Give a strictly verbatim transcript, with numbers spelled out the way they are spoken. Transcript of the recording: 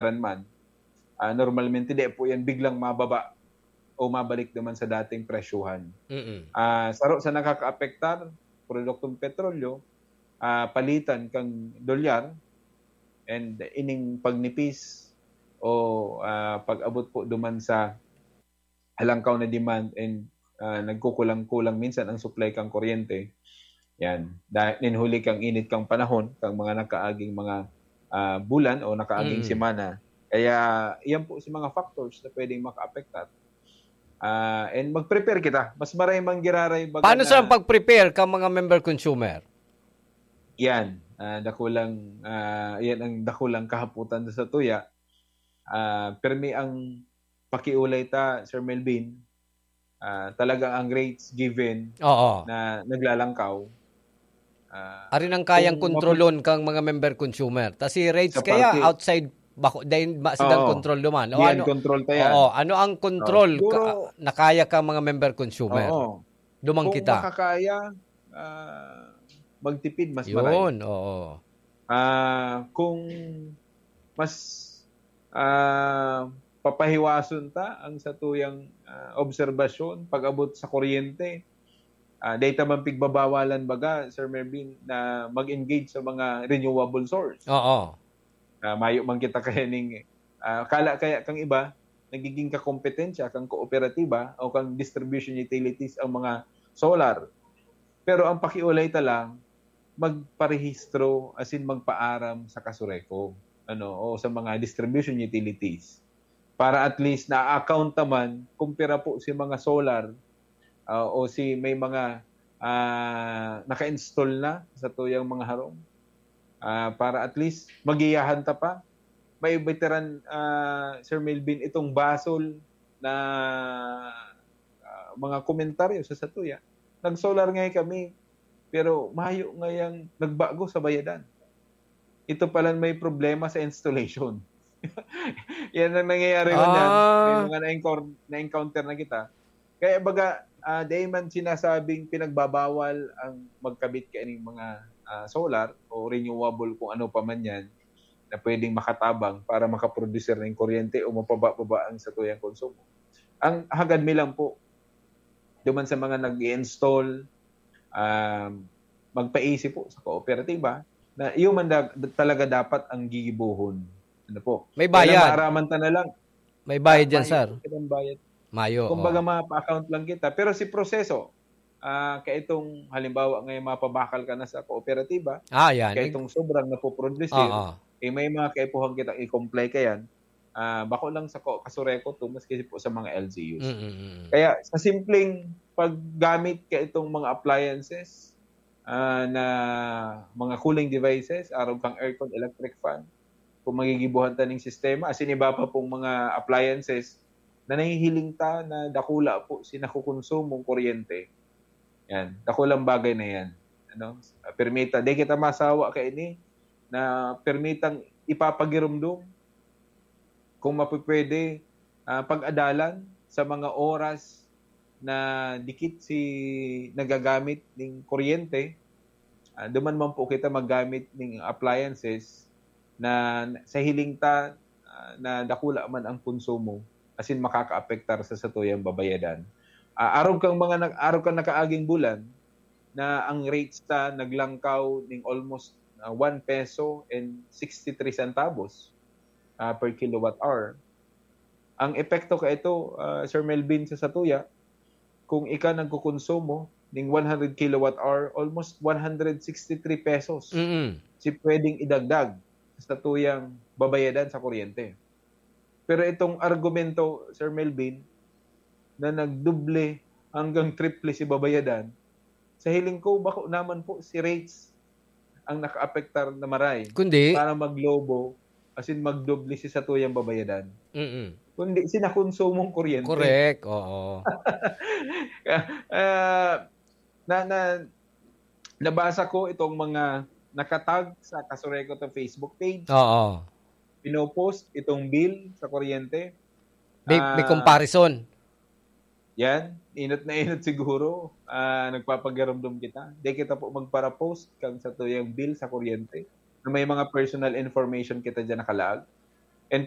man, ah, normalmente di po yan biglang mababa o mabalik naman sa dating presyuhan. Mm-mm. Ah, saro sa nakakaapektar, produktong petrolyo, ah, palitan kang dolyar, and ining pagnipis o, ah, pag-abot po duman sa halangkaw na demand and, ah, nagkukulang-kulang minsan ang supply kang kuryente. Yan. Dahil nin huli kang init kang panahon, kang mga nakaaging mga, ah, bulan o nakaaging Mm. semana. Kaya, yan po si mga factors na pwedeng makaapektar. Ah, and mag-prepare kita. Mas maray mang giraray baga Paano na sa pag-prepare ka mga member consumer? Yan. Ah, dakulang, ah, yan ang dakulang kahaputan sa tuya. Ah, permi ang pakiulay ta, Sir Melvin. Ah, talagang ang rates given Oo. na naglalangkaw. Ah, Arin ang kayang kung kontrolon kang mga member consumer. Ta si rates Sa kaya parte outside, bako, dahil ma-, sidang Oo. kontrol duman. O Yan, ano, control ta yan. oo, ano ang Oo. kontrol Siguro ka, na kaya kang mga member consumer? Oo. Dumang Kung kita. makakaya, ah, magtipid, mas maray. Yun, oo. Ah, kung mas, ah, papahiwason ta ang satuyang, ah, obserbasyon pag-abot sa kuryente, ah, dai ta man pigbabawalan baga, Sir Melvin, na mag-engage sa mga renewable source. Oo. Ah, mayo man kita kaya ning, ah, kala kaya kang iba, nagiging kakompetensya kang kooperatiba o kang distribution utilities ang mga solar. Pero ang pakiulay ta lang, magparehistro, as in magpaaram sa Casureco, ano, o sa mga distribution utilities. Para at least na-account naman kung pira po si mga solar, ah, o si may mga, ah, naka-install na sa tuyang mga harong. Ah, para at least magiyahan ta pa. May veteran, ah, Sir Melvin, itong basol na, ah, mga komentaryo sa satuya. Nag-solar ngay kami, pero mayo ngayang nagbago sa bayadan. Ito pala may problema sa installation. Yan ang nangyayari man yan. May Ah. mga na-encounter, na-encounter na kita. Kaya baga, ah, dai man sinasabing pinagbabawal ang magkabit kaining mga, ah, solar o renewable kung ano pa man yan na pwedeng makatabang para makaproducer ng kuryente o mapababa ang satuyang konsumo. Ang hagad mi lang po, duman sa mga nag-i-install, um, magpaisi po sa kooperatiba na iyo man da-, talaga dapat ang gigibohon. Ano po? May Kaya lang bayad. maaraman ta na lang. May bayad dyan, Mayo sir. po silang bayad. Mayo, Kumbaga, oo. mapa-account lang kita. Pero si proseso, ah, kaya itong, halimbawa, ngayon mapabakal ka na sa kooperatiba, Ah, yan. kaya Nag- itong sobrang napoproduce, Oo. eh, may mga kaipuhan kitang i-comply kayan. Ah, bako lang sa ko-, Casureco to, maski po sa mga L G Us. Mm, mm, mm. Kaya sa simpleng paggamit ka itong mga appliances, ah, na mga cooling devices, arog kang aircon, electric fan, kung magigibuhan ta ning sistema, asin iba pa pong mga appliances na nahihiling ta na dakula po si nakukonsumong kuryente. Yan, dakulang bagay na yan. Ano? Permita, di kita masawa kaini na permitang ipapagirumdom kung mapipwede, ah, pag-adalan sa mga oras na dikit si nagagamit ning kuryente. Ah, duman man po kita maggamit ning appliances na sa hiling ta, ah, na dakula man ang konsumo, asin makakaapektar sa satuyang babayadan. Ah, arog kang mga nag-, arog kang nakaaging bulan na ang rates ta naglangkaw ning almost, ah, one peso and sixty-three centavos, ah, per kilowatt hour. Ang epekto kaito, ah, Sir Melvin, sa satuya, kung ika nagkukonsumo ning one hundred kilowatt hour, almost one hundred sixty-three pesos Mm. si pwedeng idagdag sa tuyang babayadan sa kuryente. Pero itong argumento, Sir Melvin, na nagdoble hanggang triple si babayadan, sa hiling ko, bako naman po si rates ang nakaapektar na maray Kundi? para maglobo, as in magdoble si satuyang babayadan. Mm. Kundi si nakonsumong kuryente. Correct, oo. Ah, na, na, nabasa ko itong mga nakatag sa Casureco to Facebook page. Oo. Pinopost itong bill sa kuryente. May, may Ah, comparison. Yan, inot na inot siguro, ah, nagpapagarumdom kita. Di kita po magpara-post kang satuyang bill sa kuryente na may mga personal information kita dyan nakalaag. And